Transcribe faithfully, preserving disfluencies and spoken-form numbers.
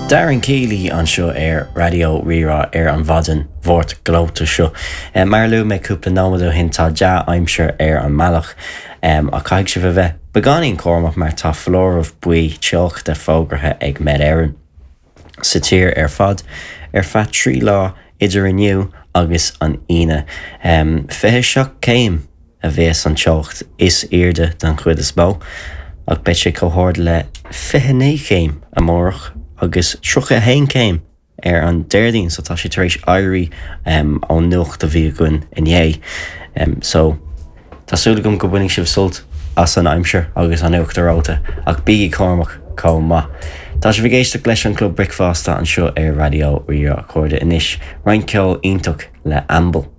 Darren Keeley anseo ar Raidió Rí-Rá ar an mhaidin Mháirt ghleoite seo. Mar a luaigh mé cúpla nóiméad ó shin tá dea-aimsir ar an mbealach ach caithfidh sibh a bheith beagáinín cúramach mar tá foláireamh buí teochta fógartha ag Met Éireann sa tír ar fad ar feadh trí lá idir inniu agus an Aoine. Fiche seacht céim a bheas an teocht is airde den chuid is mó ach beidh sé chomh hard le fiche naoi céim amárach agus tríocha a haon céim ar an Déardaoin so tá sé tar éis éirí ón nuacht a bhí againn inné. So tá súil agam go mbainfidh sibh sult as an aimsir agus an uachtar reoite ach bígí cúramach chomh maith. Tá sibh ag éisteacht leis an Club Bricfeasta anseo ar Raidió Rí-Rá a chairde anois roinnt ceol iontach le Amble.